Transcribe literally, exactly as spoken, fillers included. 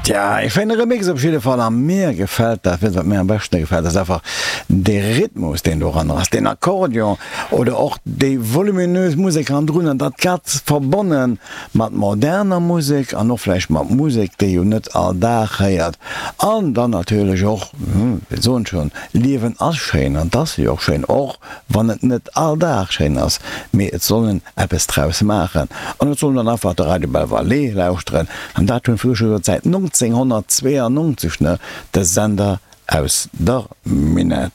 Tja, e schéine Remix op jidde Fall a mir gefält dat, wat mir am beschte gefält, ass einfach de Rhythmus, deen doran ass, den Akkordeon oder och déi voluminös Musek hannendrun an dat Ganzt verbonne mat moderner Musek an och vläicht mat Musek, déi een net all Dag héiert. An dann natierlech och, mir soen schonn, Liewen ass schéin an dat ass jo och schéin, och wann et net all Dag schéin ass, mee et soll een eppes draus maachen an et soll een dann einfach de Radio Belval lauschteren an dat hunn früher schon säit nonzénghonnertzweeanonzeg, ne, de Sender aus der Minett.